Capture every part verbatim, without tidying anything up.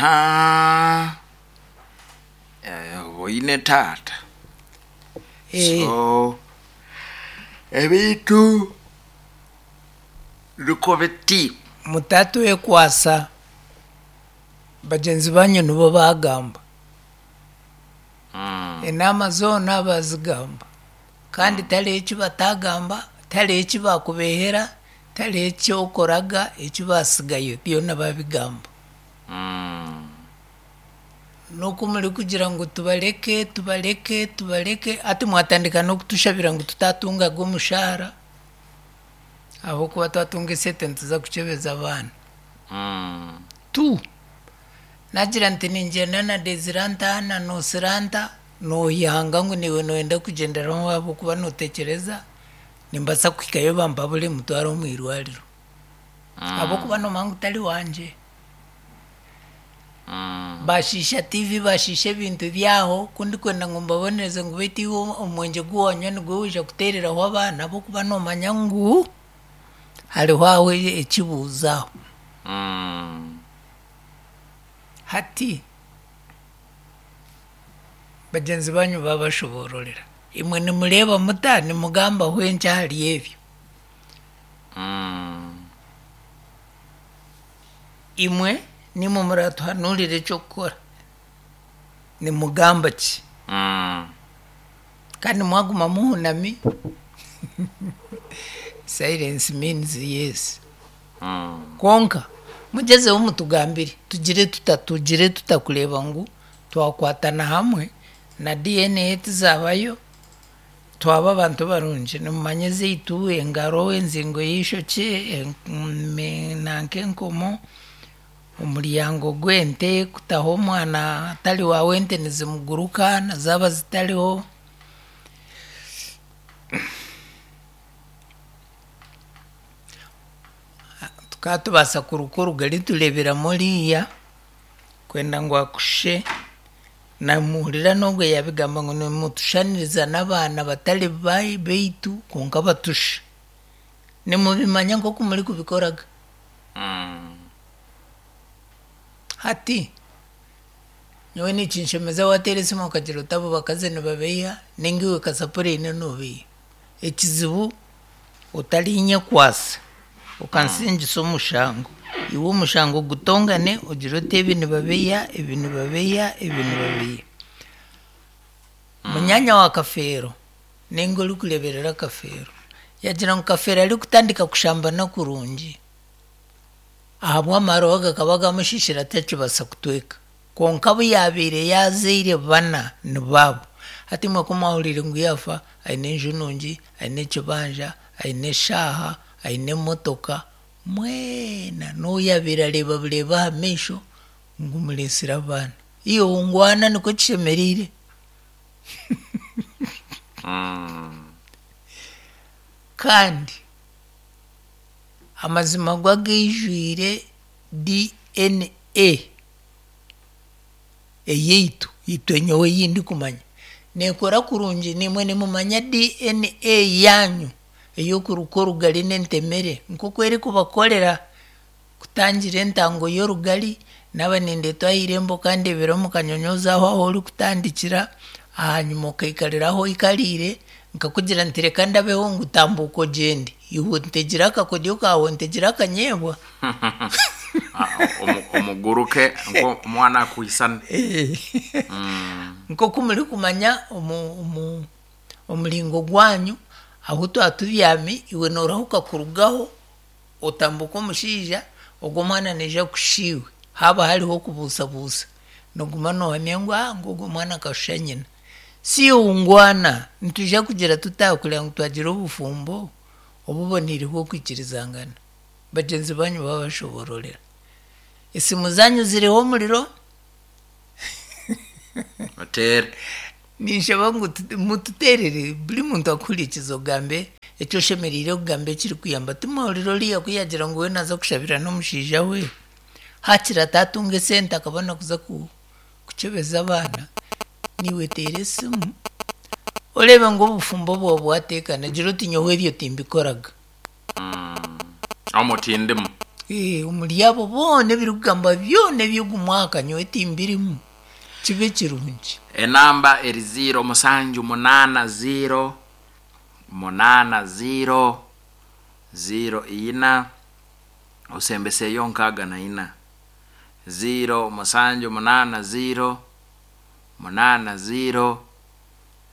Aha, eh, oine taata. Eh. So ebintu niko biti. Mutatwekwasa, bagyenzi banyu nibo bagamba. Mm. Enaama zoona bazigamba, kandi tariho eki batagamba, tariho eki bakubehera, tariho eki okoraga eki basigayo, byona babigamba. Mm. N'oku murikugira ngu tubareke, tubareke, tubareke, hati mwatandika n'okutushabira ngu tutatungaga omushahara, ahabw'okuba twatunga esente nituza kukyebeza abaana. Mm. Tu nagira nti ningyenda na Desire nta na Nosira nta, noyanga ngu niiwe noyenda kugyenderaho ahabw'okuba notekyereza nimbaasa kuhikayo bampabure mutware omu irwariro. Ahabw'okuba nomanya ngu tari wangye. Mm. Bashiisha T V, bashiisha ebintu byaho, ku ndikwenda ngu mbabonereze ngu beitu iwe omwengye gu wanywa nigwo waija kuteereraho abaana, ahabw'okuba nomanya ngu hariho aho ekibuuzo aho. Mm. Hati bagyenzi banyu babashoboororera, imwe nimureeba muta, nimugambaho enki ahari ebyo? Mm. Imwe nimwe muratuhanuurire eky'okukora, nimugamba ki? Mm. Kandi mwaguma muhunami, silence means yes. Mm. Kwonka mugyezeho mutugambire, tugire tuta tugire tuta kureeba ngu twakwatana hamwe na D N A tizabayo, twaba abantu barungi. Nimumanya ezaitu engaro, enzingo y'eishokye, nanka enkomo, omuryango gw'ente, kutaho omwana atari waawe ente nizimuguruka na zaaba zitariho. Tukaba tubaasa kuruka orugari tureeberamu oriiya kwenda ngu akushushe. Namuhurira n'ogwo yabigamba ngu nimutushaniriza n'abaana batari baitu kwonka batusha. Nimubimanya nk'oku murikubikoraga. Mm. Hati nyowe nikinshemeza wateera esimu okagira oti abo bakazi nibabeiha, ninga iwe kasapuri eine nobeiha. Ekizibu otarinyekwasa okansingisa omushango, iwe omushango gutongane ogire oti ebi nibabeiha, ebi nibabeiha, ebi nibabeiha. Munyanya wa Kafeero ninga orikureeberera Kafeero yagira ngu Kafeero arikutandika kushambana kurungi, ahabw'amaroho gakaba gamushishire atakibaasa kutweka, kwonka abu yabaire yazaire bana nibaabo. Hati imwe ku mwahuriire ngu yaafa aine enju nungi, aine ekibanja, aine eshaaha, aine emotoka, mwena n'ou yabaire areeba bureeba aha maisho ngu mureetsire abaana. Iwe ngwana nikwo kishemereire. Mm. Kandi amazima go agaijwire D N A eyaitu itwe, nyowe ei ndikumanya neekora kurungi. Nimwe nimumanya D N A yanyu ey'okuruka orugari n'entemere nk'oku erikubakorera kutangira entango y'orugari. Naaba nindeetwa aha irembo okandebera omu kanyonyoozi aho ahu orikutandikira, ahanyuma okaikarira ahu oikariire, nkakugira nti reka ndabeho ngu tambuuka ogyende, iwe ntegire akakodyo kaawe, ntegire akanyeebwa. Ah, omu- omuguruke nk'omwana akwisane. Mm. Nk'oku murikumanya omu- omu- omuringo gwanyu ahu twatubyami, iwe noorahuka kurugaho otambuka omushaija ogwo omwana naija kusha iwe. Haaba hariho okubuusabuusa, noguma noohamya ngu ah ngu ogwo omwana akashusha nyina. Si ngwana nitwija kugira tuta kureba ngu twagira obufumbo obuboneire bw'okwikirizangana? Bagyenzi banyu babashobororera, esimu zanyu ziriho omuriro. Oteere. Ninshaba ngu tu- mututeerere, buri muntu akuhurikiza, ogambe eki oshemereire kugamba ekirikuyamba. Timwahurira oriya ku yagira ngu we naaza kushabira n'omushaija we, hakiri atatunga esente akabona kuza ku- kukyebeza abaana. Niiwe teera esimu oreebe ngu obufumbo bwawe bwateekana, gira oti nyowe ebyo timbikoraga. Omwo tindimu. Eh, omuri abo boona ebirikugamba byona eby'ogu mwaka nyowe timbirimu. Kibe kirungi. Enamba eri ziro musanju munana ziro munana ziro ziro ina osembeseyo nkaaga na ina. Ziro musanju munana ziro munana ziro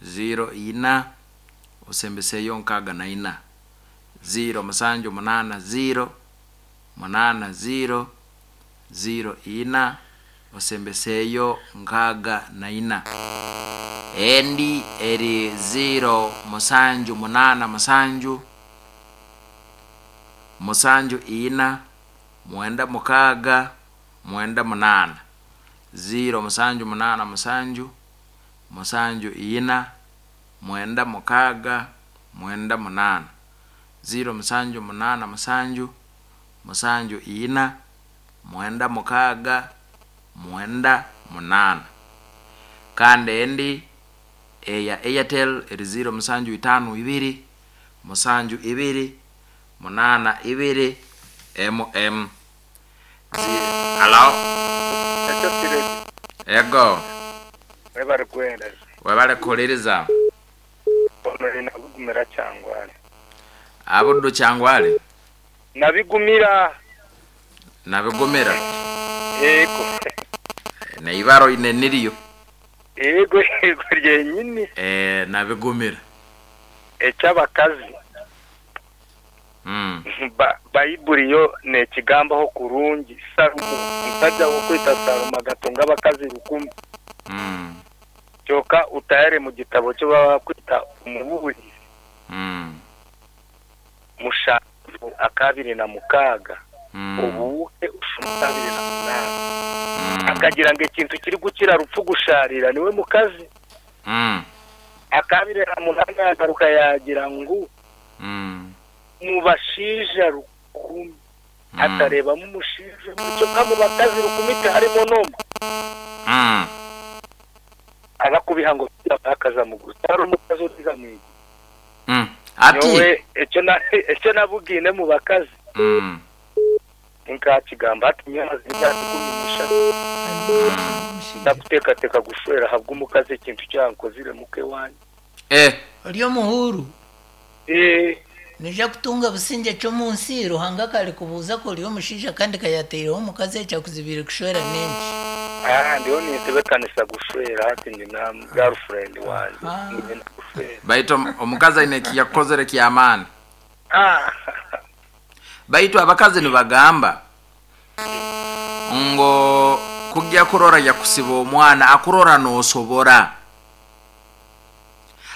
ziro ina osembeseyo nkaaga na ina. Ziro musanju munana ziro munana ziro ziro ina osembeseyo nkaaga na ina. Endi eri ziro musanju munana musanju musanju ina mwenda mukaaga mwenda munana. Ziro musanju munana musanju musanju ina mwenda mukaaga mwenda munana. Ziro musanju munana musanju musanju ina mwenda mukaaga mwenda munana. Kandi endi eya Airtel eri ziro musanju itano ibiri musanju ibiri munana ibiri M M. Zi- Hello? Ekyo kiri Ego. webare kuhereza. Webare kuhuririza. Ono nabigumira Kyangwali. Abuddu Kyangwali? Nabigumira. Nabigumira. Yego. Neibaro ine niriyo. Yego, yego ryenyini. Eh, nabigumira. Eky'abakazi. Mm. Ba- Bayibuli yo nekigambaho kurungi. Salomo, omusajja w'okwita Salomo agatunga abakazi rukumi. Mm. Kyokka utayare mu gitabo kyo baba bakwita Omubuurizi. Mm. Mushanju akabiri na mukaaga. Mm. Obuuke ushuma abiri na munana. Mm. Akagira ngo ekintu kiri gukira rupfu gusharira niwe mukazi. Mm. Akabiri na munana yagaruka yagira ngu Mm. mu bashaija rukumi. Mm. Atarebamu omushaija omwe, kyokka mu bakazi rukumi tiharimo n'omwe. Mm. Abakubiha ngo bakaza mu guru. Hari omukazi oriza mu iguru. Mm. Ati. Nyowe ekyo na-, ekyo nabugiine mu bakazi. Mm. Nkakigamba ati nyowe imyaka ikumi n'eshatu. Ndakuteekateeka gushwera ahabw'omukazi ekintu kyankozire muke wanyu. Eh. Ori omuhuru. Eh. Nija kutunga busingye ky'omu nsi, Ruhanga kari kubuuza ko ori omushaija kandi kayateireho omukazi ekyakuzibire kushwera n'enki. Ah, ndiho nintebekanisa gushwera hati ndi na girlfriend wange. Ah. Ngenda gushwera. Baitu omukazi aine ekiyakukozere ky'amaani. Ah. Baitu abakazi nibagamba ngo kujya kurora yakusiba omwana akurora nosobora.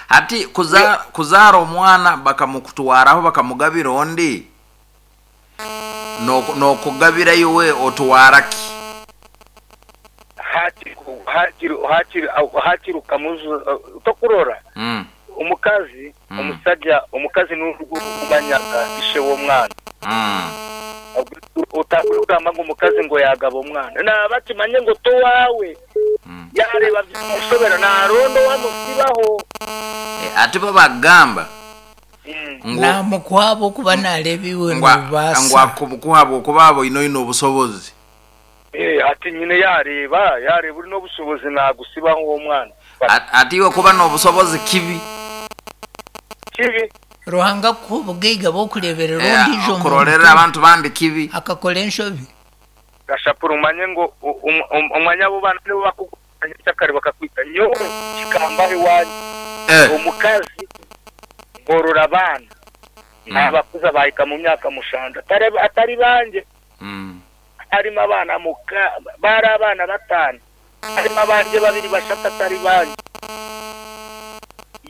Hati kuza, kuzaara omwana bakamukutwaraho bakamugabira ondi nokugabira iwe otwara ki? Hakiri, hakiri, hakiri, hakiri ukamuzu tokurora. Mm. Omukazi, Mm. omusajja, omukazi n'urugumanyaga ishe w'omwana. Mm. Utakugamba ngo omukazi ngo yagaba omwana. Naba kimanye ngo to wawe. Mm. Yareba by'umushobera narondo wamusibaho. E, ati bo bagamba Mm. ngo Namukwabo kuba narebiwe ngo ngo nobasa. akumukuhabo kuba abo ino ino obusobozi. Eh, ati nyine yareba, yareba uri n'obusobozi nagusibaho uwo mwana. Ati iwe kuba n'obusobozi kibi. Kibi. Ruhanga kubugaiga bokureberera Eh, ondiijo okurorera muntu. abantu bandi kibi. Akakora enshobi. Gashapura umanye ngo umwanya abo bana nibo bakuganya cyakare bakakwita nyowe kikambahe wanyu. Eh. Omukazi ngorora abana. Mm. Abakuza bahika mu myaka mushanda. Atari, atari banje. Mm. Harimo abana muka bari abana batanu. Harimo abanje babiri bashatu atari banje.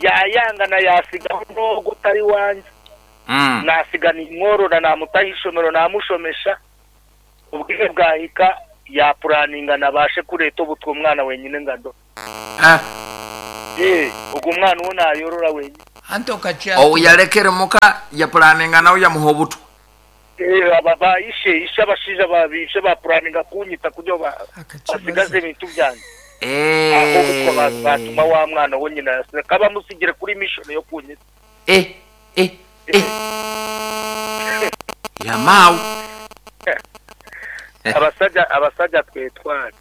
Yayanga na yasigaho ndogo utari wanje. Mm. Nasiga nimworora namutaha ishomero namushomesha. Ubwire bwahika yapuraninga nabashe kureta obutwa omwana wenyine ngado. Eh. Eh, ubwo umwana uwo nayorora wenyine. Anto kacha. Owu yalekere muka yapuraninga nawe yamuha obutwa. Eh, aba bayishe ishe abashija babishe bapuraninga kunyita kujo ba Akakibazo. basigaze ibintu byanjye. Eh. Aho ubutwa ba- batuma wa mwana wo nyina yasize kaba musigire kuri mission yo kunyita. Eh, eh, eh. Yamawu. Abasajja abasajja twetware.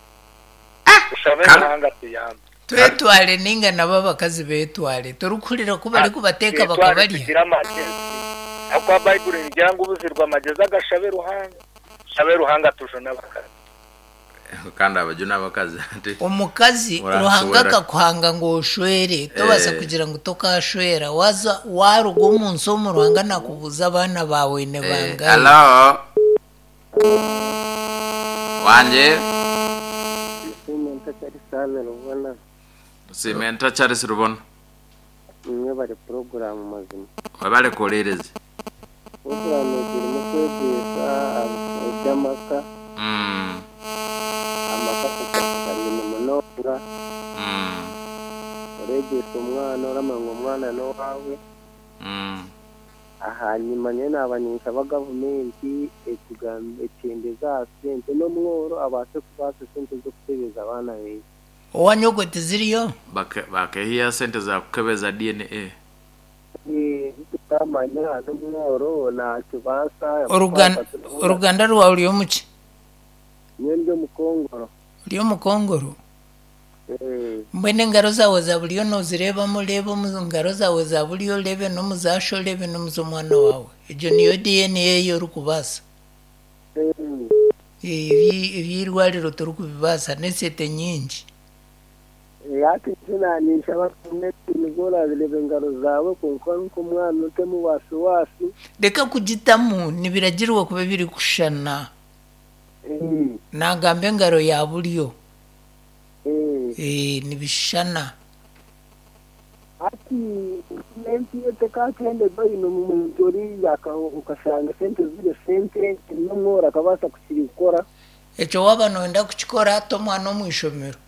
Tushabe Kale. Ruhanga tuyambe. Twetware ninga nabo abakazi betware torikuhurira ku bari kubateeka Twetware bakabarya. tugire amagezi. Akwa Bayibuli nigira ngu ubuzirwa amagezi agashabe Ruhanga. Shabe Ruhanga tujune abakazi. Kandi abajuna abakazi ati Omukazi Ora- Ruhanga ora- akakuhanga ngu oshwere tobaasa Eh. kugira ngu tokashwera waza waruga omu nsi omu Ruhanga nakubuuza abaana baawe ne Eh, bangahe. Hello, wanje. Simenta Charles Rubona. Simenta Charles Rubona. Nimwe bari porogaramu mazima. Webale kuwuliriza. Porogaramu egi erimu kwegyesa eby'amaka. Mm, amaka kugaine munonga. mm, Oreegyesa omwana oramanya ngu omwana n'owaawe. mm. Ahanyuma nyowe naaba ninshaba gavumenti etugamba ekyendeza aha sente n'omworo abaase kubaasa sente z'okutebeza abaana be. Owanyogwe tiziriyo. Bake- bakehiya sente za kukebeza D N A. Tutamanya n'omworo nakibaasa. Orugan- oruganda rwawe ruri omuki? Nyowe ndi omukongoro. Ori omukongoro. Eh, Mbwenu engaro zaawe za buryo noozireebamu reeba omu ngaro zaawe za buryo oreebe n'omuzaasho oreebe n'omuz'omwana waawe. Egyo niyo D N A ei orikubaasa. eh, Ebi- eby'eirwariro torikubibaasa n'esente nyingi. Hati nyowe ninshaba gavumenti nibwo orareeba engaro zaawe kwonka nk'omwana otemu wasiwasi. Reka kugitamu nibiragirwa kuba birikushushana. Eh, Nagamba engaro ya buryo. eh. Eh, nibishushana. Hati gavumenti yo tekakyendeza oine omuntu oriya ukashanga sente ziri sente n'omworo akabaasa kukirikora. Ekyo waaba nooyenda kukikora ata omwana omu ishomero.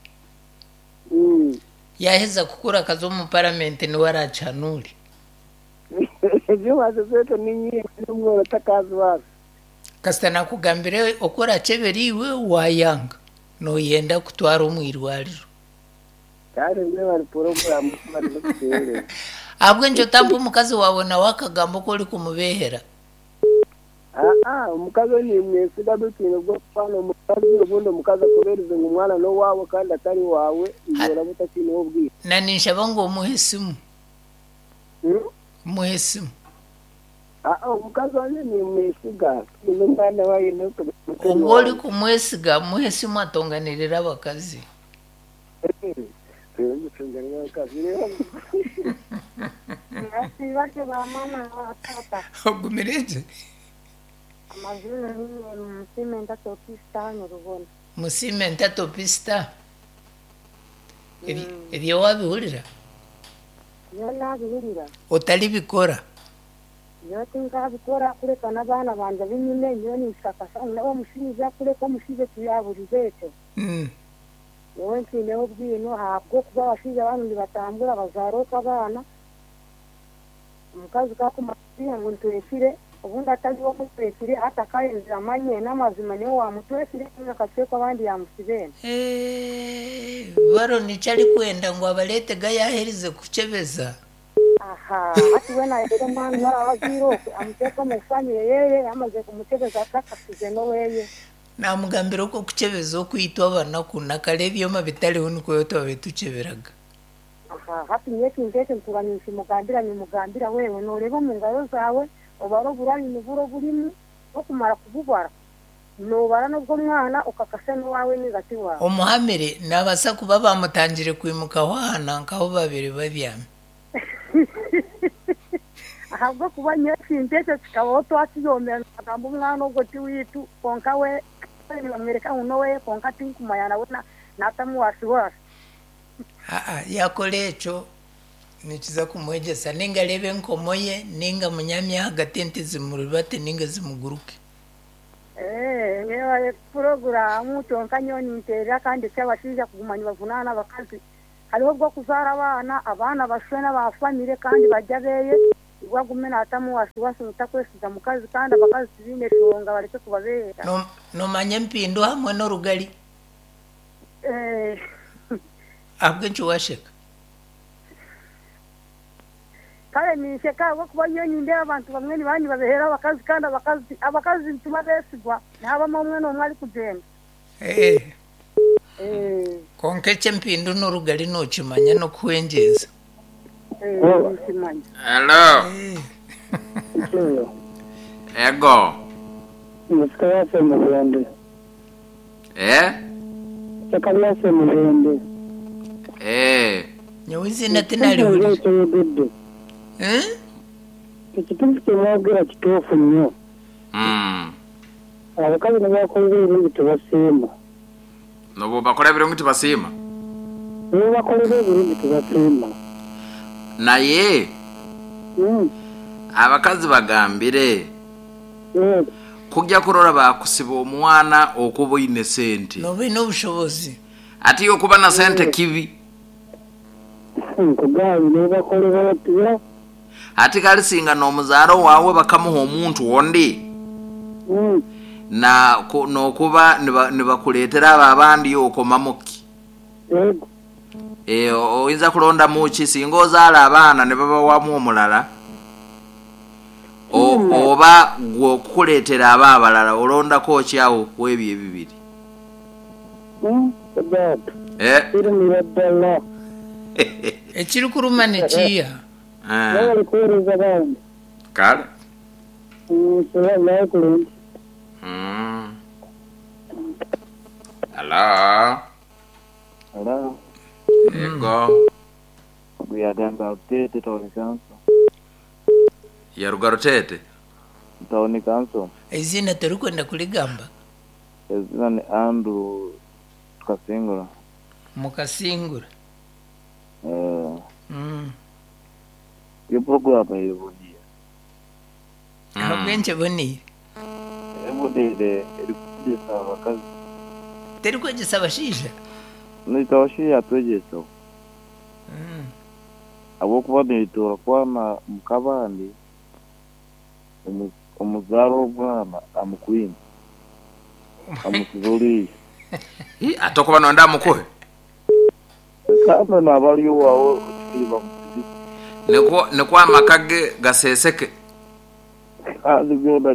Mm. Yaheza kukura akaza omu paramenti niwe arakihanuure. Ebyo sente ni nyingi n'omworo takazibaasa. Kasita nakugambire oku orakyebera iwe wayanga nooyenda kutwara omu irwariro. Kandi mwe bari porogaramu bari kutuheereza. Ahabw'enki otampa omukazi waawe nawe akagamba oku orikumubeehera? Aa, omukazi we nimwesiga bitiine bw'okufana omukazi obundi omukazi akubeereze ngu omwana n'owaawe kandi atari waawe iwe oraba otakiineho obwire. Na ninshaba ngu omuhe esimu. Hmm? Omuhe esimu. Aa, omukazi wange nimwesiga n'omwana waye n'oku- Obwo orikumwesiga muhe esimu atonganirire abakazi. Bake ba mama na tata. Ogumire gye. Amazina ni Musimenta Topista Rubona. Musimenta Topista. Ebi- Ebyo wabihurira? Nyowe nabihurira. Otaribikora. Nyowe tinkabikora kureka n'abaana banje binyine nyowe ninshakasha omushaija kureka omushaija tiyaburize ekyo. Mm. Nyowe nkiineho obwino ahabw'okuba abashaija banu nibatambura bazaara okwo abaana. Omukazi kakumanya ngu ntwekire obundi atariho omutwekire hati akayenzire amanye n'amazima niwe wamutwekire akacweka abandi yamusibeene. Eh, baro nikyo arikwenda ngu abareetega yaherize kukyebeza. Aha, hati we nayera omwana yarabaziire okwe amuteeka omu famire yeye yamaze kumukyebeza atakasize n'oweye. Namugambira okwo okukyebeza okwitwa abanaku nakare ebyoma bitariho nikwo twabaire tukyeberaga. Aha, hati nyowe ekintu ekyo ntuba ninkimugambira nimugambira wewe nooreeba omu ngaro zaawe obara oburari niburo burimu okumara kububara noobara n'obw'omwana okakasa n'owaawe ninga ti waawe. Omuhamire nabaasa kuba bamutangire kwimukaho ahana nkaho babiri babyami. Ahabw'okuba nyowe ekintu ekyo kikabaho twakiyomera nagamba omwana ogwo ti wiitu kwonka we nibamwereka ngu n'oweye kwonka tinkumanya nawe naatamu wasiwasi. Aa, yakora ekyo nikiza kumwegyesa ninga areebe enkomo ye ninga munyamye ahagati ente zimuribate ninga zimuguruke. Eh, nyewe porogaramu kyonka nyowe ninteerera kandi eky'abashaija kuguma nibavunaana abakazi. Hariho obw'okuzaara abaana, abaana bashwe n'abafamire kandi barya abeeye, iwe agume naatamu wasiwasi mutakwesiga mukazi kandi abakazi tibaine shonga bareke kubabeera. No- Noomanya empindo hamwe n'orugari. Eh, Ahabw'enki washeka? Kare ninsheka ahabw'okuba nyowe nindeeba abantu bamwe nibaba nibabeheera abakazi kandi abakazi abakazi nituba beesigwa nihabamu omwe n'omwe arikugyenda. Eh, Eh, konka eky'empindu n'orugari nookimanya n'okuhwengyeza. eh, ninkimanya. Hello. Ego. Musika yase mugende. Eh? Ettaka lyase mugende. Eh. Nyowe izina tinarihurira. Ekyeyogedde. Eh? Ekituufu kye mwogera kituufu nnyo. Mm. Abakazi ne bakolera ebirungi tebasiima. Nobu bakora ebirungi tibasiima. Ne bakolera ebirungi tebasiima. Naye Mm. abakazi bagambire Eh, kujja kurora bakusiba omwana okuba oine sente. Noba oine obushobozi. Ate okuba na sente kibi. Nkugambye ne bakolera batya. Ate kalisinga n'omuzaaro waawe bakamuha omuntu ondi. Mm. Na ku- n'okuba niba- nibakuleetera abo abandi okomamuki. Yego. Eh, oyinza kulondamu ki singa ozaala abaana ne babawamu omulala O- Mm. oba gwe okukuleetera aba abalala olondako ki awo ku ebyo ebibiri? Mm. Ogato. Eh? Kirumira ddala. Ekirikuruma nikiiha. Eh, Bali kuweereza bandi. Kale. Mm, sira naye kulungi. Mm. Hello. Hello. Ego. Kuyagamba Rutete Town Council. Yaruga Rutete. Town Council. Izina torikwenda kurigamba. Ezina ni Andrew Tukasingura. Mukasingura. Eh, Mm. iyo program eboniire. Ahabw'enki eboniire? Eboniire eri kwegyesa abakazi. Terikwegyesa abashaija? Naitwe abashaija atwegyesa. Mm. Ahabw'okuba nituura kwana mukabandi omu- omuzaara omwana amukwine amusize oriiya. Hi, ate okuba nonda amukuhe. Kandi naaba ari owaawe okiri bamusize. Nikwo nikwo amaka ge gaseseke. Kandi byona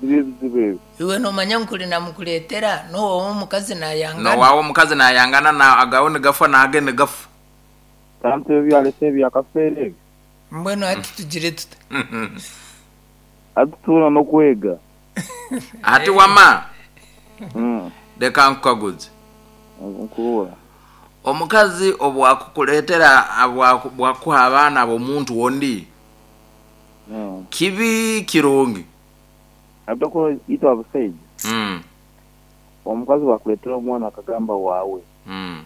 biri ebizibu ebyo. Iwe noomanya ngu kuri namukureetera n'owaawe omukazi naayangana. Nowaawe omukazi nayangana na agawe nigafa nage nigafa. Kandi ebyo byarese ebyakafeera ebyo. Mbwenu hati tugire tuta? Atutuura n'okwega. Ati wama Mm. leka nkukaguze. Nkubuura. Omukazi obwakukuleetera abwaku- bwakuha abaana b'omuntu ondi Mm. kibi kirungi. Ate itwe abasaija Mm. omukazi wakuleetera omwana akagamba waawe Mm.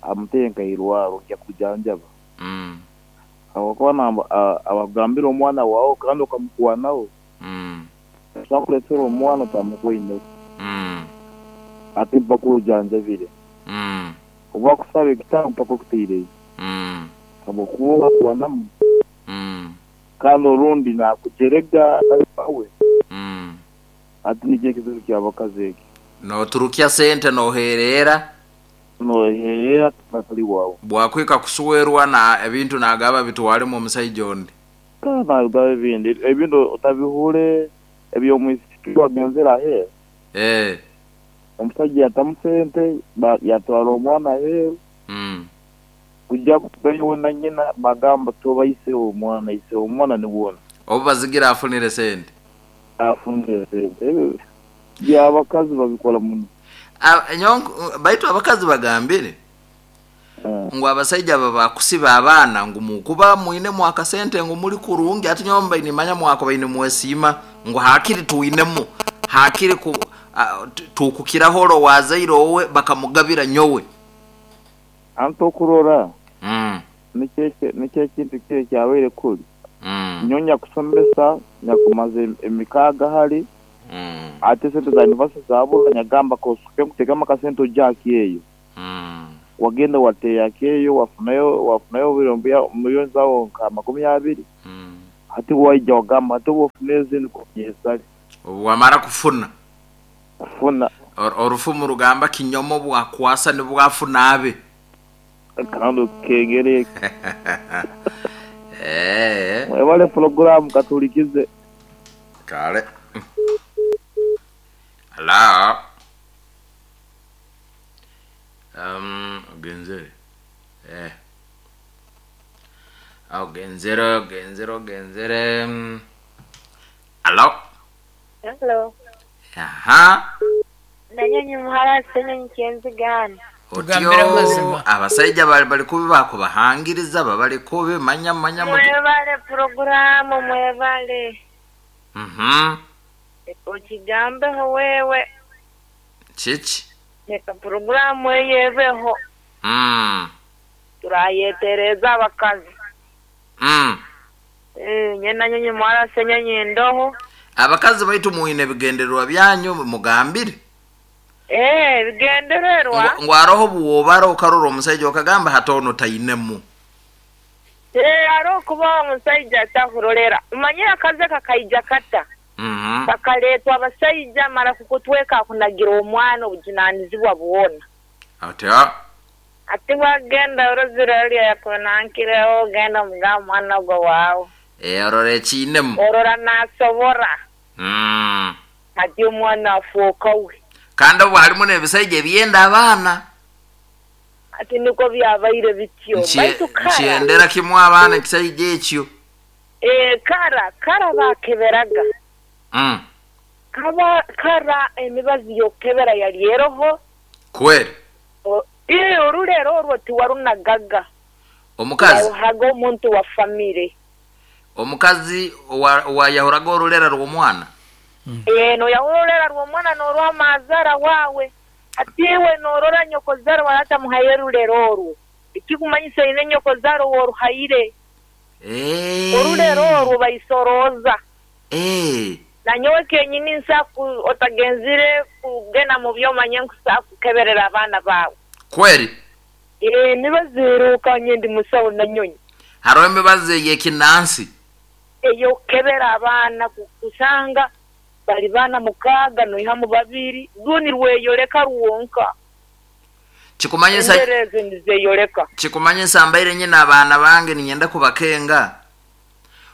amuteeke nkairwaro ojja kujanjaba. Mm. Habwokuba namba abagambira omwana waawe kandi okamukwanaho Mm. osobola omwana otamukwine Mm. ate mpaka ojanjabire. Mm. Oba akusaba ekitaano mpaka okuteireyo. Mm. Habwokuba obakwanamu Mm. kandi orundi nakujerega atali wawe. Mm. Ate nikyo ekizibu ky'abakazi eki. Noturukya sente noherera Noherera atali wawe. bwakwika kusuwerwa na ebintu nagaba bitwaremu omusaija ondi. Kandi nagaba ebindi ebindi otabihure eby'omwisiki wagenzere aheeru. Eh. Omusajja yatamu sente ba- yatwara omwana aheeru Mm. kujja kugayo na nyina bagamba toba ise omwana ise omwana niwona Obu bazigira afunire sente. afunire sente. Ebyo by'abakazi babikora muno. A- nyonk- baitu abakazi bagambire Eh, ngu abasaija aba bakusiba abaana ngu mukuba mwinemu akasente ngu muli kurungi ate nyowe nimanya mwakuba ine mwesiima ngu hakiri twinemu hakiri ku a- tu- tukukiraho oro wazaire owe bakamugabira nyowe. Anti okurora Mm. nikyo eki- nikyo ekintu kiri kyabaire kuri. Mm. Nyowe nyakusomesa nyakumaze em- emikaaga hari Mm. ate sente za university zabura nyagamba kosuke nkuteekamu akasente ojja eyo. Mm. Wagenda wateeyako eyo wafunayo wafunayo ebirumbi miliyoni zawo nka makumi abiri. Mm. Hati waija wagamba hati wofuna ezindi kunyesale. Obu wamara kufuna Kufuna Or- orufumu rugamba kinyomo bwakwasa nibwafuna abe. kandi okengere. Eh, Mwebale puroguramu katulikize. Kale. Hello. Um, ogenzere. Eh. Ogenzere, ogenzere, ogenzere. Mm. Hello. Hello. Aha. Nanyonyi muhara senyonyi kyenzigana. Tugambire amazima. Abasajja bali bali kubi bakubahangiriza babali kubi manya manya mu. Mwebale programu mwebale. Mhm. Okigambeho wewe. Chichi. Reka programu eyebeho. Mm. Turayetereza abakazi. Mm. Eh, nye nanyonyi muhara senyonyi ndoho. Abakazi baitu muine bigendererwa byanyu mugambire. Eh, bigendererwa. Ngo aroho buwobara okarora omusajja okagamba hatono tainemu. Eh, aroho kuba omusajja atahurorera. Umanyire akaze kakaija kata. Mhm. Kakaletwa abasajja mara kukutweka kunagira omwana obujunanizibwa bwona. Atya. Ati wagenda orozire orya yakunankireho ogenda omuga omwana ogwo waawe. Eh, orora ekiinemu. Orora nasobora. Mm. Ati omwana afuuka we. Kandi obwo harimu n'ebisajja ebyenda abaana. Ati niko byabaire bityo. Nkye- Baitu kara. Nkyendera kimwe abaana ekisajja ekyo. Eh, kara kara bakeberaga. Mm. Kaba kara emibazi y'okukebera yali eroho. Kweri. O- Eh, orulero orwo tiwarunagaga. Omukazi Yaruhaga omuntu wa famire. omukazi owa- owayahuraga orulera rw'omwana. Eh, noyahurolera rw'omwana norwa amazara wawe. Ati iwe norora nyokozaro waratamuhaye rulero orwo. Ekikumanyisa ine nyokozaro woruhaire. Eh. Orulero orwo baisoroza. Eh. Nanyowe kenyini nsaku otagenzire kugenda mu byomanye nkusakukeberera abaana bawe. Kweri. Eh, nibaziruka ndi musawo nanyonyi. Hariho emibazi ey'ekinansi. Eyokukebera abaana ku- kusanga bali baana mukaaga noihamu babiri rwo nirweyoleka rwonka. Kikumanyisa Endera ezo nizeyoleka. kikumanyisa mbaire nyina abaana bange ninyenda kubakenga.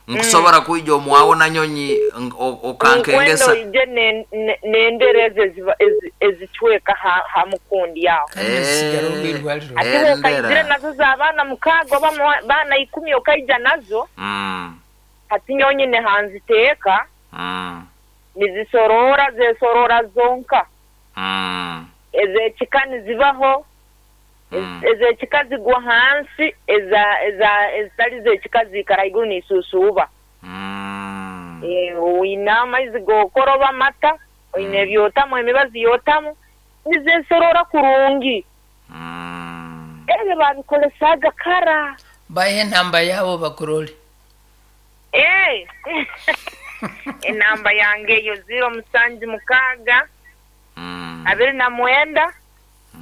Nkusobora kwija omwawo nanyonyi ng- o- Nkwenda okankengesa. oije ne- ne- n'endera ezo eziba- ezi- ezicweka ha, ha mukundi aho. Kandi zisigara obwirwariro. Ate Endera. okaizire nazo z'abaana mukaaga oba mu- baana ikumi okaija nazo Mm. hati nyonyine hanziteeka Mm. nizisorora zesorora zonka. Mm. Ez'ekika nizibaho Mm. ez'ekika zigwa hansi eza eza ezitali z'ekika ziikara haiguru niisuusuuba. Mm. Eh, oine amaizi g'okoroba amata oine ebyotamu emibazi yotamu nizesorora kurungi. Mm. Ebyo babikolesaga kara. Bahe enamba yabo bakurole. Eh. Enamba yange eyo ziro musanju mukaaga Mm. abiri na mwenda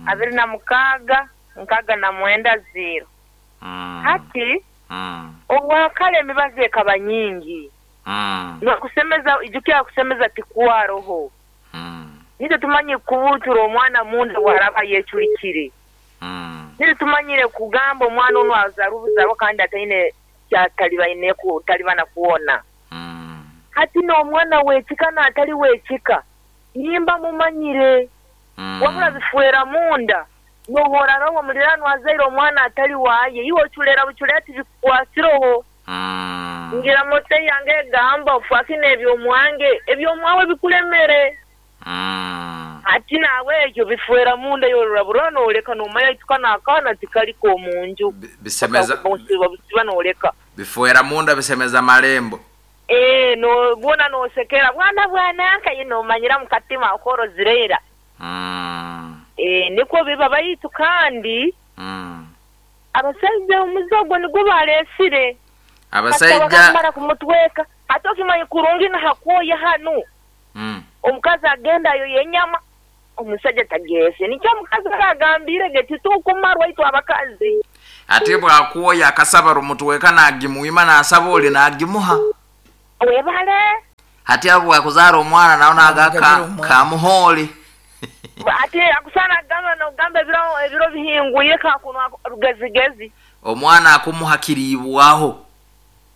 abiri na mukaaga nkaaga na mwenda ziro. Mm. Hati Mm. obwakare emibazi ekaba nyingi. Mm. Nokusemeza ijukira kusemeza tikwaroho. Mm. Nitwe tumanye kubutura omwana munda bwaraba yeculikire. Mm. Nitwe tumanyire kugamba omwana ono azara obuzarwa kandi ataine kyatalibaine kutalibana kuwona. Mm. Hati n'omwana wekika n'atali wekika nimba mumanyire Mm. wabula bifuera munda nohora roho mulirano azaire omwana atali waye iwe oculera buculera tibikwasiroho. Mm. Ngira mote yange egamba ofakine ebyomwange ebyomwawe bikulemere. Mm. Ati nawe ekyo bifuera munda yorora burora noleka nomanya ituka n'akaana tikaliko omunju. Bi- Bisemeza Busiba busiba noleka. bifuera munda bisemeza malembo. Eh, no bwona nosekera bwana bwananka ye nomanyira mukatima okorozirera. Mm. Eh, niko biba baitu kandi Mm. abasajja omuze ogwo nigwo baleesire. Abasajja bakamara kumutweka ate okimanyi kurungi nahakwoya hanu. Mm. Omukazi agenda ayo yenyama omusajja tageese nikyo omukazi aragambire ge titukumarwa itwe abakazi. Ate bwakwoya akasaba rumutweka nagimuima nasaba oli nagimuha. Webale. Hati abo bwakuzaara omwana nawe naga Namugabira ka, omwana. kamuhooli. Ate akusana gamba nogamba ebiro ebiro bihinguye kakunwa rugezigezi. Omwana akumuha kiribwaho.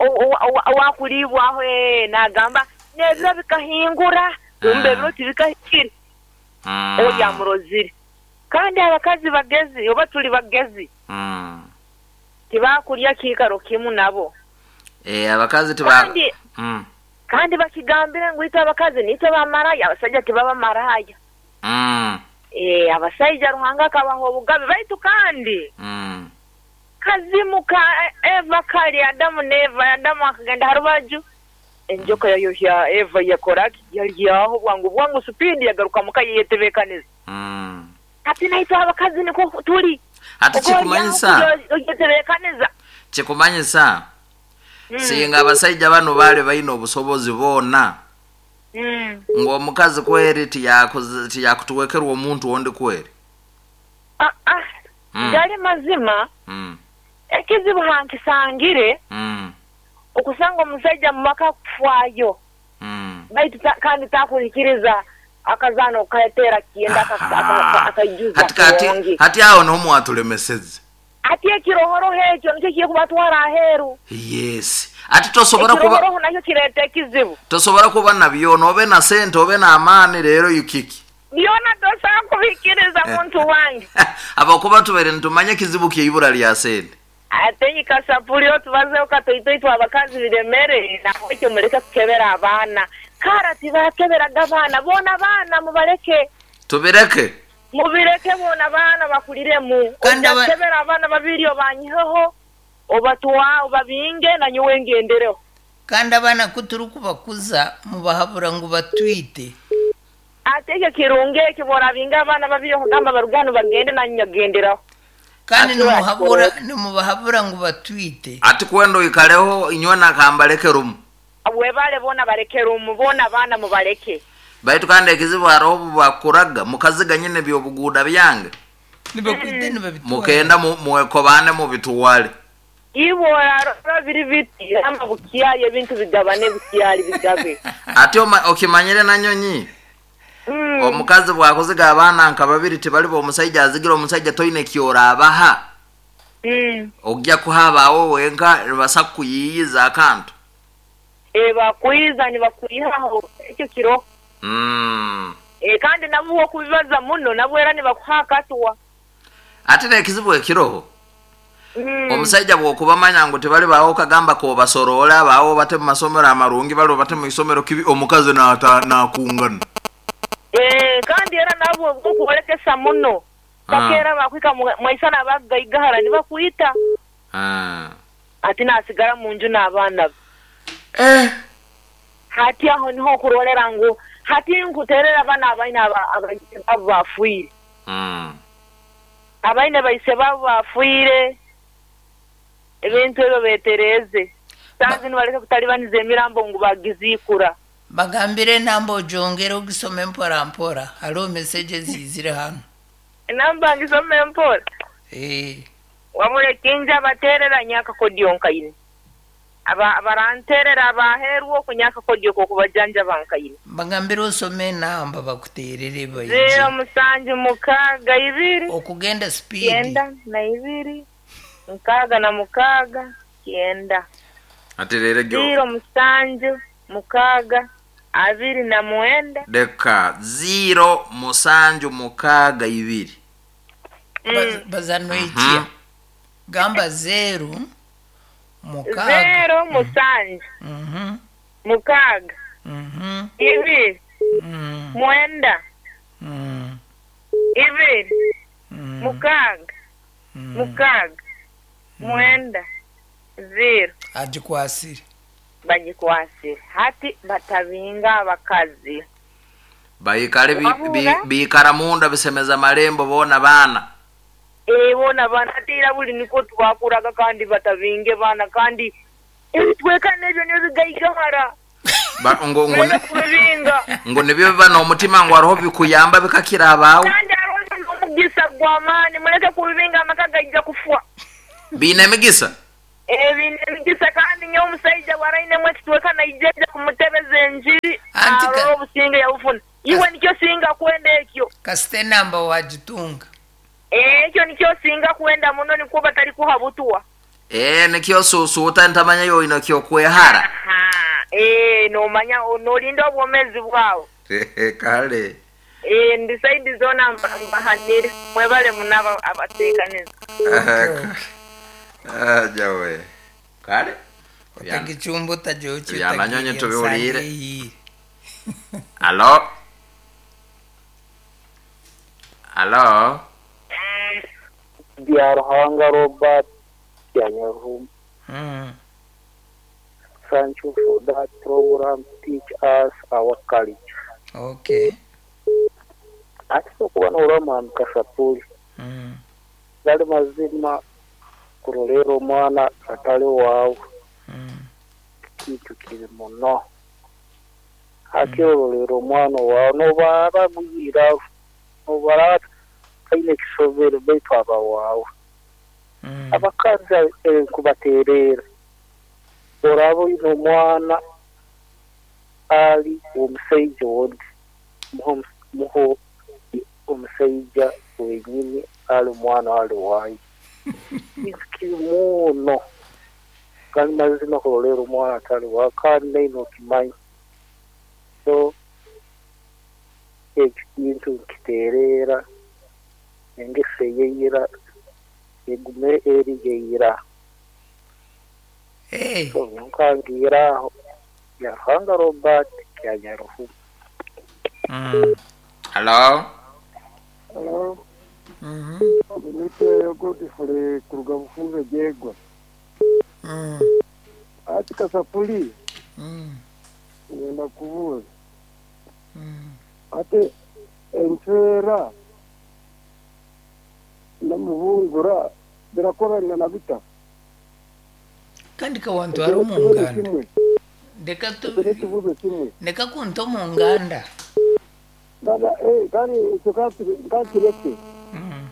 Owakuribwaho nagamba n'ebiro bikahingura kumbe ebiro tibikahikire oryamurozire kandi abakazi bagezi oba tuli bagezi tibakurya kiikaro kimu nabo. Eh abakazi tiba kandi mm. kandi bakigambire ngu itwe abakazi nitwe bamaraya abasajja tibaba maraya. Mm. Eh abasajja Ruhanga akabaha obugabe baitu kandi mm. kazimu ka Eva kali Adamu n'Eva Adamu akagenda harubaju enjoka yayohya Eva yakoraki yalyaho bwangu bwangu supindi yagaruka muka yetebekaniza. Mm. Ati naitwe abakazi niko tuli ati kikumanyisa yetebekaniza kikumanyisa mm. Singa abasajja bano bale balina obusobozi boona mm. ng'omukazi kweri tiyakutuwekerwa omuntu ondi kweri ah, ah. Mm. Gali mazima mm. Ekizibu hankisangire mm. Okusanga omusajja mu maka kufwayo mm. Baitu ta, kandi takuhikiriza akazano kaetera kienda akaijuza hati, hati awo n'omu atulemeseze ati ekirohoroho ekyo nikyo kiye kubatwara aheru. Yes ati tosobora kuba ekirohoroho nakyo kireeta ekizibu tosobora kuba nabyo nobe na sente obe na amaani leero yukiki byona tosobola kubikiriza muntu wange abakuba tubere nitumanye ekizibu kyeibura lya sente ate nyikasapuli otubazeho katoitoitwe abakazi biremere naho ekyo mureke kukebera abaana kara tibakeberaga abaana boona abaana mubareke tubireke mubireke boona abaana bakuliremu ojakebera abaana babiri obanyiheho obatwa obabinge nanyowe ngendereho kandi abaana kuturi kubakuza mubahabura ngu batwite ate ekyo kirungi ekyo borabinga abaana babiri okugamba barugano bagende nanyagenderaho kandi nimuhabura nimubahabura ngu batwite ati kwenda oikaleho inywe nakambaleke rumu webale boona baleke rumu boona abaana mubaleke baitu kandi ekizibu hariho bubakuraga mukaziga nyine byobuguuda byange nibakwite nibabitwara mukenda mwekobane mubituwale iborarora biri biti ama bukyali ebintu bigabane bukyali bigabe ate okimanyire nanyonyi mm. Omukazi bwakuziga abaana nka babiri tibali omusajja azigira omusajja toine kyorabaha mm. Ojja kuhabaawo wenka basa kuyiyiza akantu e bakuyiza nibakuyihaho ekyo kiro mm. E kandi nabo okubibaza muno nabo era nibakuha akatwa ate n'ekizibu ekiroho Mm. Omusajja bw'okubamanya ngu tebali baawo kagamba k'obasorola baawo bate mu masomero amarungi bali bate mu isomero kibi omukazi n'akungana Eh kandi era nabo okubolekesa muno bakeera bakwika mwaisana abagaigahara nibakuyita ah. Ati nasigara mu nju n'abaana be eh. Hati aho niho okurolera ngu hati nkuterera abaana abaine abaise babo bafiire mm. Abaine baise babo bafiire ebintu ebyo betereze sanzi nibaleke kutalibaniza emirambo ngu bagizikura bagambire enamba ojongere ogisome mpora mpora hariho message zizire hano enamba ngisome mpora eh wabure kinja baterera nyaka kodyo nkaine aba abaranterera abaherwo okunyaka kodyo kokubajanja bankaine bagambire osome enamba bakuterere baije zero musanju mukaaga ibiri okugenda speed kyenda na ibiri mukaaga na mukaaga kyenda ate rero zero musanju mukaaga abiri na mwenda deka zero musanju mukaaga ibiri mm. Bazanoikia gamba zero mukaaga zero musanju mm -hmm. mukaaga mm -hmm. ibiri mm. mwenda mm. ibiri mm. mukaaga mm. mukaaga mwenda zero agikwasire bagikwasire hati batabinga abakazi baikale biikara munda bisemeza malembo boona baana eh boona baana ate buli niko twakuraga kandi batabinge baana kandi ebitweka n'ebyo nibyo bigaigahara ngo ngo kubibinga ngo nibyo biba n'omutima ngu hariho bikuyamba bikakira abaawe kandi hariho n'omugisa gw'amaani muleke kubibinga amaka gaija kufwa biine emigisa ebintu emigisa kandi nyowe omusajja bwarainemu ekitweka naijaija kumutebeza enjiri arora obusinge yabufuna iwe nikyo singa kwenda ekyo kasita enamba wagitunga ekyo nikyo singa kwenda muno nikwo batari kuha butwa Eh, nikyo susuuta ntamanya yoina kyokwehara. Aha, eh, nomanya nolinda obwomezi bwawe. Kale. Eh, ndi saidi zona mba- mbahanire mwebale munaba abateekaniza. Ah, jawe. Kale. Byana. Otagichumba otajoki. Byana tubiwulire. Alo. Alo. Bya Ruhanga Robert Byanyaruhuma. Mm. Thank you for that program. Teach us our culture. Okay. Ati okuba n'olwamwami Kasapuli Mm. gali mazima kurolera omwana atali waawe Mm. kintu kiri muno akyorolera omwana waawe nobaara guyira nobaara kaine ekisobere baitu aba waawe. Mm. Abakazi enkubateerera oraba oine omwana ali omusaija ondi muho muho omusaija wenyini ali omwana ali waayo kintu kiri muno kandi mazima kurolera omwana atali waawe kandi naine okimanya so ekyo kintu nkiteerera engeso eyeira egume eri yeira. Hey. So nkangira aho ya Ruhanga Robert Kyanyaruhuma. Mm. Alo. Hello. Mhm. Nite Godfrey kuruga Bufunze Jegwa. Mm. Ati Kasapuli Mm. ngenda kubuuza Mm. ate entwera namuhungura birakorana na bita Kandi kawantwara omu nganda. Ndeka tu ekyo n'ekibuuzo kimwe ndeka kunta omu nganda. Dada, eh, kandi ekyo kakireke. Mm.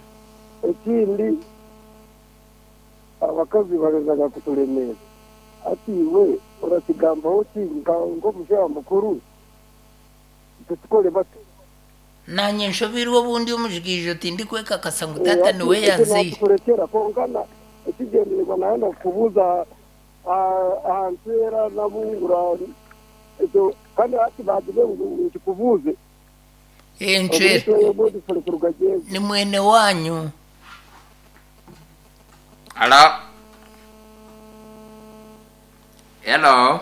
Ekindi abakazi barezaga kutulemeera ati iwe orakigambaho ki nka- nk'omushaija mukuru tetukore bati. Nanye nshobirwe obundi omujigiijo tindikwekakasa ngu tata niwe yanzeire. Natukurekera konka na- ekigyendererwa naye nakubuuza aha ntwera nabungura ekyo kandi hati bagize ngu nkikubuuze. Encwera Omuntu Godfrey kuruga Jegwa. ni mwene wanyu. Alo. Hello.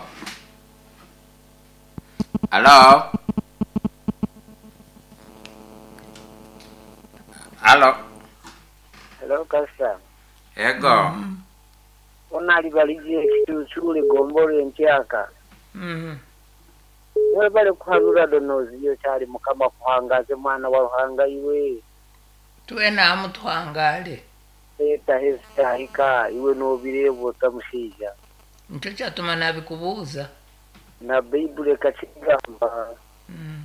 Alo. Alo. Hello, Pastor. Ego. Onali balije ekituutsule gombolo entyaka. Mm. Mwebale kuhanura donozi yo kyali Mukama kuhangaze mwana wa Ruhanga iwe. Twena hamu tuhangale. Leta hezitahika iwe n'obireeba otamushaija. Nikyo kyatuma nabikubuuza. Na Baibuli ekakigamba. Mm.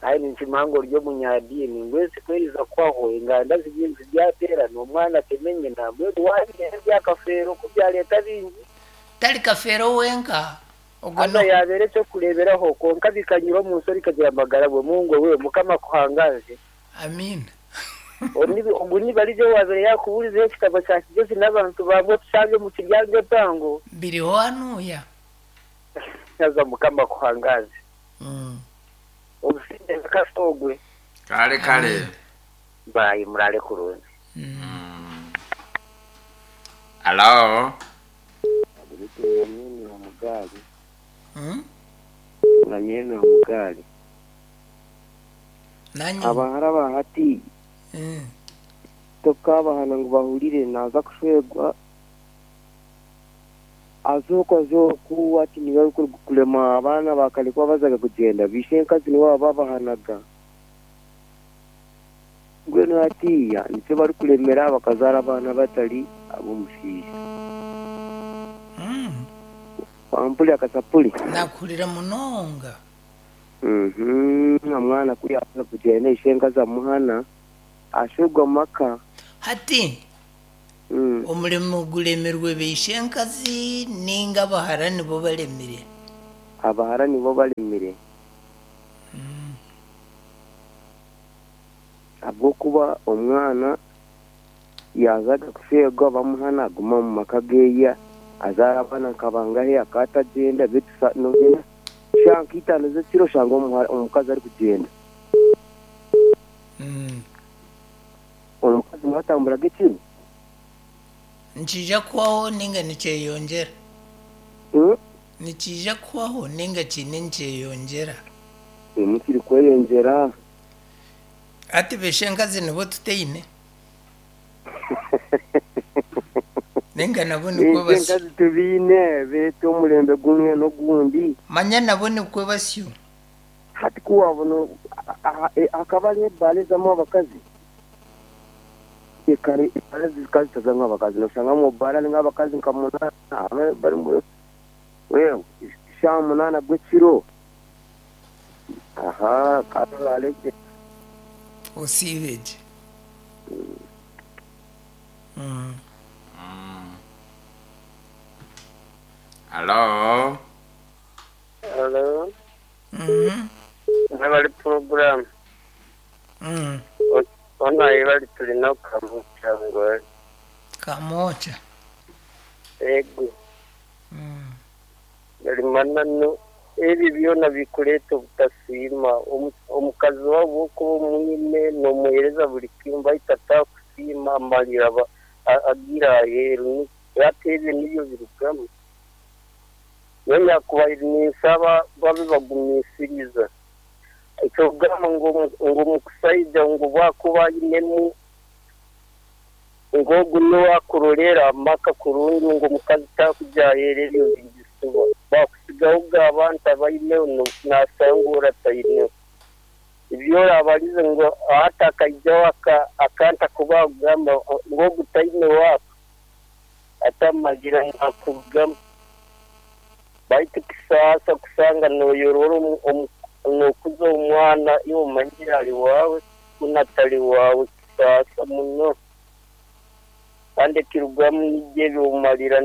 Aye ninkimanya ori omunyadiini ngu ensi kweriza kwaho enganda zibiri ziryateerana omwana atemenye nambwenu wabireeba ebyakafeero ku byaleeta bingi. Tali kafeero wenka. Ogwo Hano no. yabeera ekyokureeberaho konka bikanyura omu nsi orikagira amagara bwe Mungu we Mukama kuhangaze. Amina. Ogu nibarije wabeere yakubuurizeho ekitabo kya Kigezi n'abantu bamwe tushange mu kiryango epango. Biriho hanuya. Naza Mukama kuhangaze. Mm. Obusinde kasogwe. Kale kale. Bayi murale kurungi. Mm. Alo. Mm. Nanyene omugaali. Nanye. Abahara bahati Mm. tokabahana ngu bahurire naza kushwegwa azoku azoku ati niwe kulema abaana bakalekwa bazaga kugenda bishe enkazi niwe babahanaga mbwenu hatiya nikyo barikulemera bakazaara abaana batari ab'omushaija. Mm. Wampuli akasapuli. Nakuhurira munonga. Mhm, omwana kuri aza kugenda ishe enkazi amuhana ashwegwa maka. Hati Mm. omurimo gulemirwe beishe enkazi ninga abahara nibo balemire. Abahara nibo balemire. Mm. Ahabw'okuba omwana Yazaga kushegwa bamuhana aguma mu maka geya azaara abaana nkabangahe akatagenda bitu nogenda shanka itaano z'ekiro shanga omukazi ari kugenda. Mm. Omukazi mwatamburaga ekiro Nikija kubaho ninga nikyeyongyera? Mm? Nikija kubaho ninga kiine nikyeyongyera? Nikiri kweyongyera. Ati beshe enkazi nibo tuteine? Ninga nabo nikwo basyo. Enkazi tubiine beete omulembe gumwe n'ogundi. Manya nabo nikwo basyo. Hati kuwabona hakaba hariho ebaara ezamu abakazi. Ekare ebaara zikazi zitazamu abakazi noshangamu baara harimu abakazi nka munaana barimu wewe shaaha munaana gw'ekiro. Aha karareke. Osiibe gye. Mm. Hello. Hello. Mm. Bali program. Mm. Ona ibali tulina kamuchango. Kamocha. Ego. Mm. Yali manano ebi byona bikuleta obutasiima omukazi wabo okuba omwine n'omuheereza buli kimu baitu atakusiima amalira agira aheeru ate ebyo nibyo birugamu. Nyakubaire ninsaba babe bagumiisiriza. Ekyokugamba ngu omukusaija ngu bwakuba ainemu ngu ogu niwe akurorera amaka kurungi ngu omukazi takujya aheeru ebyo bigisuba. Bakusigaho abantu abaineho nasanga orataineho. Ebyo orabarize ngu hati akaijaho akanta kuba kugamba ngu ogu taine waaka atamagira nakurugamu. Baitu kisaasa kusanga noyorora nokuza omwana iwe omanyire ari waawe kunatari waawe kisaasa muno. Kandi ekirugamu nibyo ebyomarira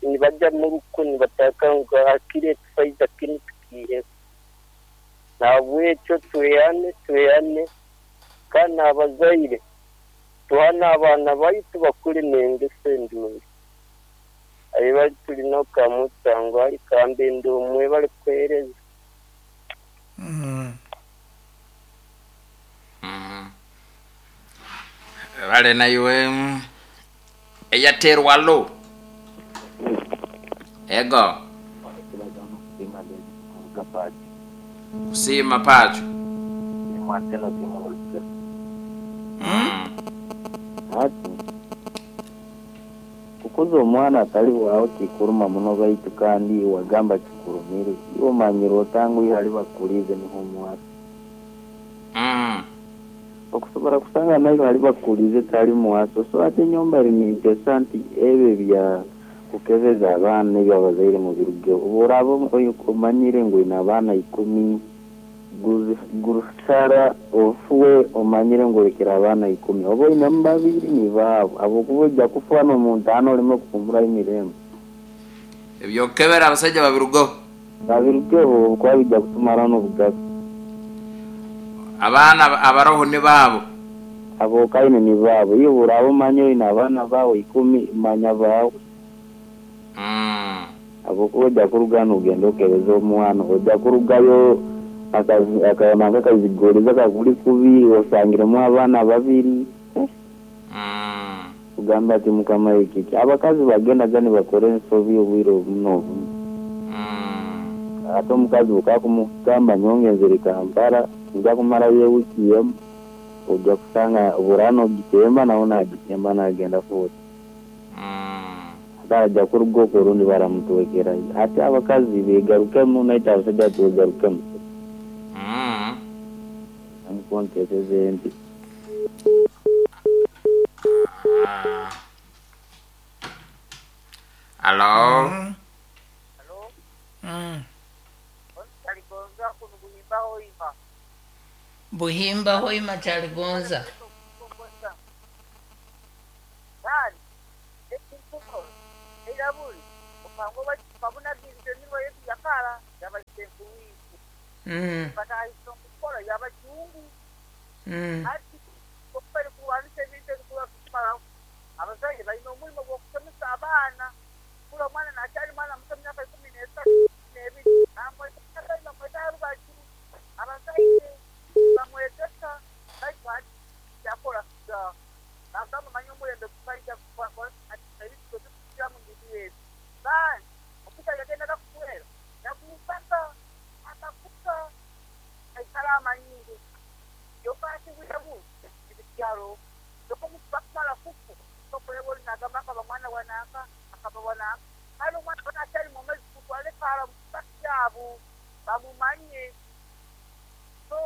nibajya muruko nibataka ngu hakiri ekisaija kinu tukiiheho. Nahabwekyo tweyane tweyane kandi abazaire tuhane abaana baitu bakure n'engeso endungi. Ayi bali tulina kamutango ali kambende omwe bali kuheereza. Mm. Mm. Bale naiwe eyaterwa lo. Ego. Kusima pacho. Mm. Hati kukuza omwana atali waawe kikuruma muno baitu kandi wagamba kikurumire iwe omanyire otangu ihali bakulize niho omwana. Mm. Okusobora kusanga nayo hali bakulize tali mwaso so ate enyomba eri nti ebyo bya kukebeza abaana ebyo abazaire mu birugeho obu oraba omanyire ngu oine abaana ikumi gurusara ofuwe omanyire ngu orekere abaana ikumi oba oinemu babiri ni baabo habwokuba ojja kufa n'omuntaano oleme kuhumburayo emirembe. Ebyokukebera abasajja babirugeho. Babirugeho kuba bijja kutumaraho n'obugabe. Abaana abaroho ni baabo. Abo kaine ni baabo iwe oraba omanyire oine abaana baawe ikumi manya baawe. Mm. Habwokuba ojja kuruga nogenda okebeza omwana ojja kurugayo akayama kakazigoreza kakuli kubi osangiremu abaana babiri. Mm. Kugamba ati mukama ekiki abakazi bagendaga nibakora ensobi obwire obumu n'obumu. Mm. Ate omukazi bukakumugamba nyongenzere Kampala nja kumarayo ewiki emu ojja kusanga burano ogitemba nawe nagitemba nagenda fuoti. Mm. Ate ajja kuruga okwo orundi baramutwekerayo. Ate abakazi begarukemu naite abasajja twegarukemu. Mm. Nikwo nteeseze nti. Ah. Hello. Mm. Mm. Buhimba hoima kyaligonza. Mm. Mm. Abazaire balina omulimo gw'okusomesa abaana. Kula omwana nakyali mwana muto myaka ikumi n'esatu n'ebiri bamweta rubaju abazaire bamwegesa baitu yakora bagamba manya omulembe gubaija ebintu mu bintu ebi bandi okuta yagendaga kukwera yakumpaka akakuka aikara amanyingi yokasiwirabu ebikyaro yokomubakumara kuku tokureba nagamba akaba mwana wanaka akaba wanaka hali omwana wanakyali mumezi kutwalekara mukakyabo bamumanye. So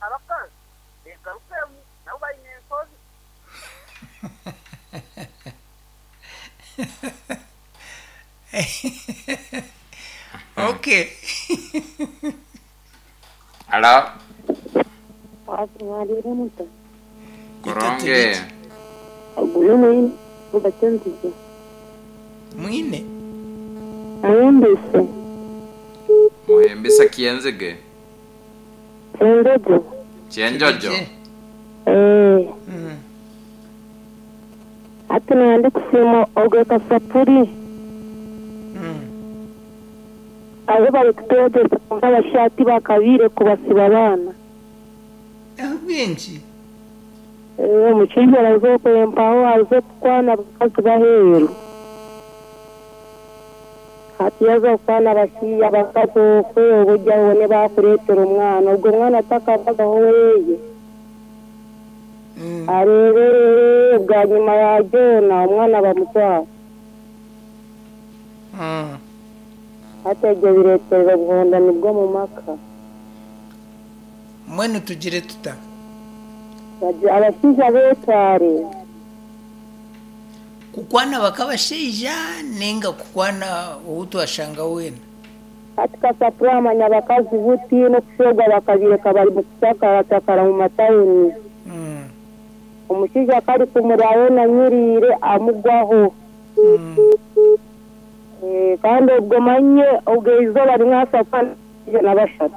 abakazi begarukemu nabo balina ensozi. Okay. Alo. Mwalire muta. Kuronge. Oguyo mwine ubatenzize. Mwine. Muhembese. Muhembesa kienzege. Chenjojo. Chenjojo. Eh. Mm. Ati nandi kusima ogwe kasapuri. Mm. Aho bari kutwegesa nk'abashati bakabire kubasiba abaana. Ahabw'enki? Eh, omushaija araza kwempaho aze kukwana abakazi baheeru. Hati yaza kukwana abashaija abakazi okwe obujja bone bakureetera omwana ogwo omwana atakabagaho weeye. Mm. Areeberere bwanyuma ya joona omwana bamutwara. Mm. Hati ebyo bireeterera obuhondani bw'omu maka. Mwenu tugire tuta. Bagi- Abashaija beetware. Kukwana bakabashaija ninga kukwana ou twashanga weena. Hati kasapuri amanya abakazi buti n'okushwerwa bakabireka bari mu kucakaratakara mu matawuni. Mm. Omushaija kari kumuraayo nanyiriire amugwaho. Mm. Eh, kandi obwo manye obwo eizooba rimwe asakwana na bashatu.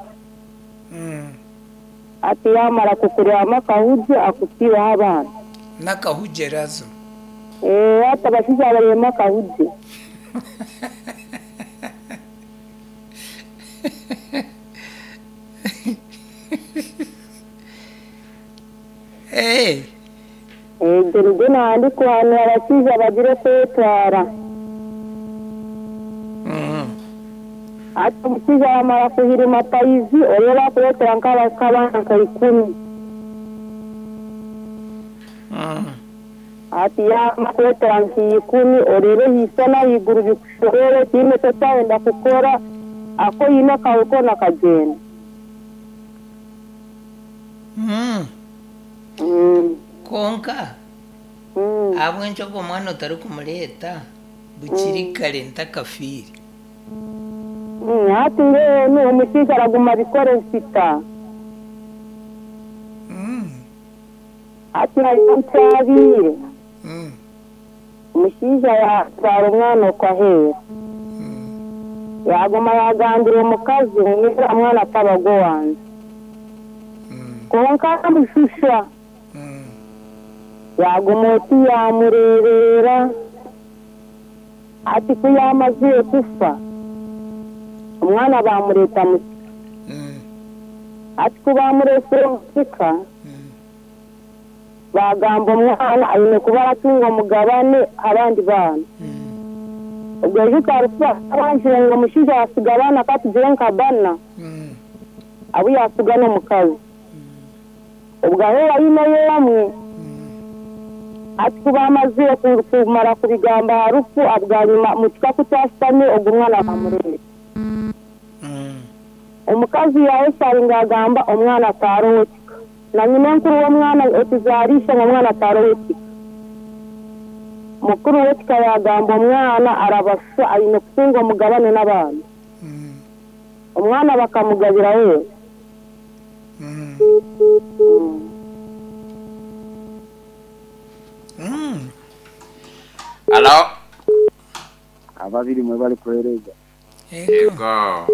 Mm. Ati yamara kukuryama akahugye akutiireho abaana. N'akahugerazo. Eh, hati abashaija baryema akahugye. Hey. Ebyo nibyo nandi kuhanura abashaija bagire kwetwara. Mm. Ati omushaija yamara kuhirima payizi oreeba akureetera nk'abaana nka ikumi. Mm. Ati yamara kureetera nka ikumi oreebe hiisa n'ahaiguru bikushobere tiine eki okyayenda kukora ako oine akawe koona kagyenda. Mm. Mm. Konka Mm. ahabw'enki ogwo omwana otarikumureeta bukiri kare ntakafiire. Mm, hati mbwenu omushaija araguma abikore nsita. Mm. Hati hariho nkyabiire. Mm. Omushaija yatwara omwana okwo aheeru. Mm. Yaguma yagambira omukazi ngu uriya mwana ataba gwe wange. Mm. Konka amushusha. Mm. Yaguma oti yamureeberera. Ati ku yamazire kufa omwana bamureeta mu Mm. ati ku bamureesire omu kika Mm. bagamba omwana aine kuba aratunga omugabane abandi baana. Mm. Obwo ejo karukuba abanjire ngu omushaija yasiga abaana katugire nka bana Mm. abu yasiga n'omukazi. Obwo aho ayineyo omwe Mm. ati ku bamazire ku- kumara kubigamba aha rufu abwanyuma mu kika ku kyashutami ogwo omwana bamureeta. Mm. Omukazi yayesharinga agamba omwana atarowe kika. Na nyina enkuru w'omwana otuzarisha ngu omwana atarowe kika. Mukuru w'ekika yagamba omwana arabasa aine kutunga omugabane n'abaana. Mm. Omwana bakamugabira we. Mm. Mm. Mm. Alo. Ababiri mwe bari kuhereza. Ego. Yego.